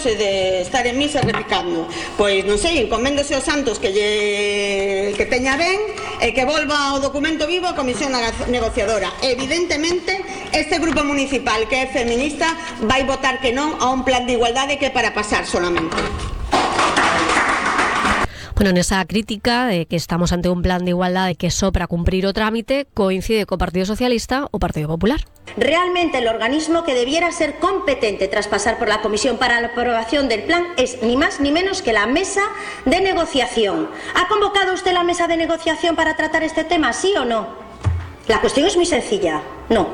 de estar en misa repicando. Pois non sei, encoméndose aos santos que teña ben e que volva o documento vivo a comisión negociadora. Evidentemente, este grupo municipal que é feminista vai votar que non a un plan de igualdade que é para pasar solamente. Bueno, nesa crítica de que estamos ante un plan de igualdade que só para cumprir o trámite coincide co Partido Socialista o Partido Popular. Realmente el organismo que debiera ser competente tras pasar por la comisión para la aprobación del plan es ni más ni menos que la mesa de negociación. ¿Ha convocado usted la mesa de negociación para tratar este tema, sí o no? La cuestión es muy sencilla, no.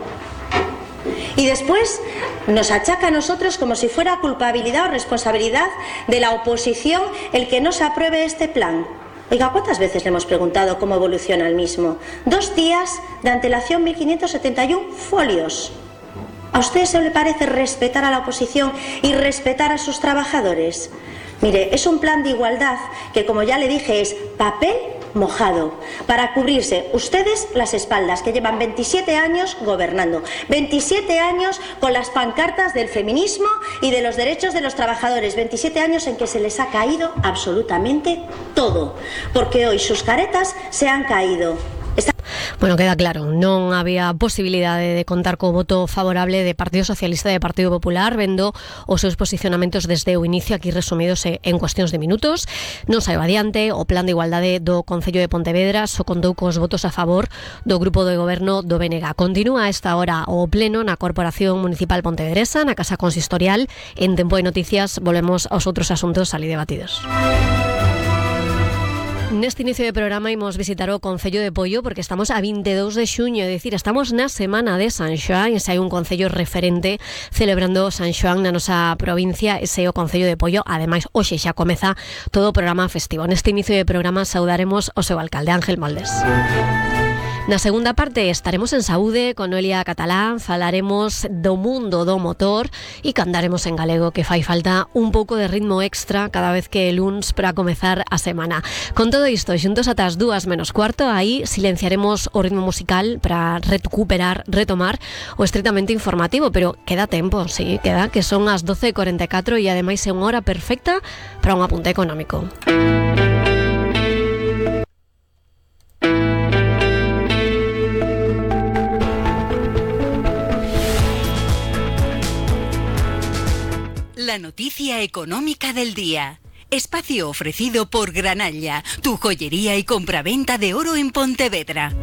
Y después nos achaca a nosotros como si fuera culpabilidad o responsabilidad de la oposición el que no se apruebe este plan. Oiga, ¿cuántas veces le hemos preguntado cómo evoluciona el mismo? 2 días de antelación, 1.571 folios. ¿A usted se le parece respetar a la oposición y respetar a sus trabajadores? Mire, es un plan de igualdad que, como ya le dije, es papel mojado para cubrirse ustedes las espaldas, que llevan 27 años gobernando, 27 años con las pancartas del feminismo y de los derechos de los trabajadores, 27 años en que se les ha caído absolutamente todo, porque hoy sus caretas se han caído. Bueno, queda claro, non había posibilidade de contar co voto favorable de Partido Socialista e de Partido Popular, vendo os seus posicionamentos desde o inicio aquí resumidos en cuestións de minutos. Non saiu adiante o plan de igualdade do Concello de Pontevedra, só contou cos votos a favor do grupo de goberno do BNG. Continúa a esta hora o pleno na Corporación Municipal Pontevedresa, na Casa Consistorial. En Tempo de Noticias volvemos aos outros asuntos ali debatidos. Neste inicio de programa imos visitar o Concello de Poio porque estamos a 22 de xuño, é dicir, estamos na semana de San Xoán e se hai un concello referente celebrando San Xoán na nosa provincia, ese é o Concello de Poio. Ademais, hoxe xa comeza todo o programa festivo. Neste inicio de programa saudaremos o seu alcalde, Ángel Moldes. Na segunda parte estaremos en Saúde con Noelia Catalán, falaremos do mundo do motor e cantaremos en galego, que fai falta un pouco de ritmo extra cada vez que é luns para comezar a semana. Con todo isto, xuntos ata as 2:15, aí silenciaremos o ritmo musical para retomar o estritamente informativo, pero queda tempo, sí, queda, que son as 12:44 e ademais é unha hora perfecta para un apunte económico. La noticia económica del día. Espacio ofrecido por Granalla, tu joyería y compraventa de oro en Pontevedra.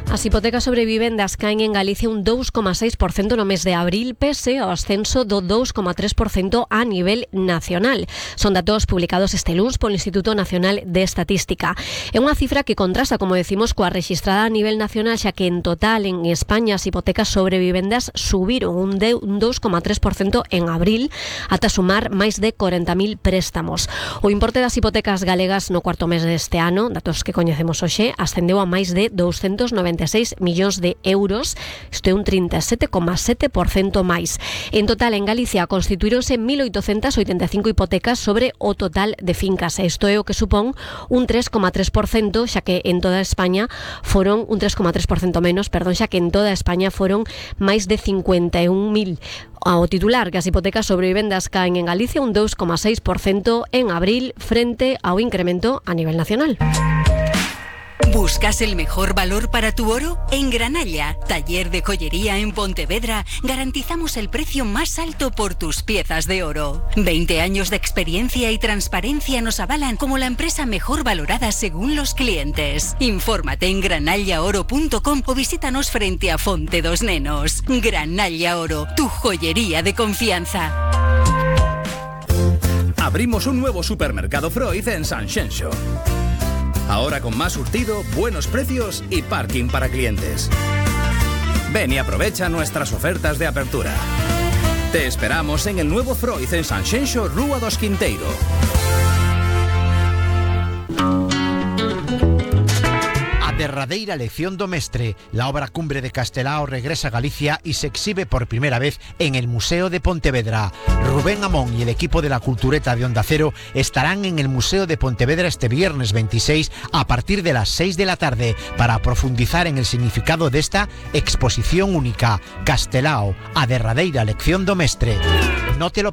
As hipotecas sobre vivendas caen en Galicia un 2,6% no mes de abril, pese ao ascenso do 2,3% a nivel nacional. Son datos publicados este luns polo Instituto Nacional de Estatística. É unha cifra que contrasta, como decimos, coa rexistrada a nivel nacional, xa que en total en España as hipotecas sobre vivendas subiron un 2,3% en abril, ata sumar máis de 40.000 préstamos. O importe das hipotecas galegas no cuarto mes deste ano, datos que coñecemos hoxe, ascendeu a máis de 296 millóns de euros, isto é un 37,7% máis. En total, en Galicia constituíronse 1.885 hipotecas sobre o total de fincas. Isto é o que supón un 3,3%, xa que en toda España foron un 3,3% menos, xa que en toda España foron máis de 51.000. Ao titular que as hipotecas sobre vivendas caen en Galicia un 2,6% en abril frente ao incremento a nivel nacional. ¿Buscas el mejor valor para tu oro? En Granalla, taller de joyería en Pontevedra, garantizamos el precio más alto por tus piezas de oro. 20 años de experiencia y transparencia nos avalan como la empresa mejor valorada según los clientes. Infórmate en granallaoro.com o visítanos frente a Fonte dos Nenos. Granalla Oro, tu joyería de confianza. Abrimos un nuevo supermercado Freud en Sanxenxo. Ahora con más surtido, buenos precios y parking para clientes. Ven y aprovecha nuestras ofertas de apertura. Te esperamos en el nuevo Freud en Sanxenxo, Rúa dos Quinteiro. Derradeira lección do mestre, la obra cumbre de Castelao regresa a Galicia y se exhibe por primera vez en el Museo de Pontevedra. Rubén Amón y el equipo de la Cultureta de Onda Cero estarán en el Museo de Pontevedra este viernes 26 a partir de las 6 de la tarde para profundizar en el significado de esta exposición única, Castelao, a derradeira lección do mestre. No te lo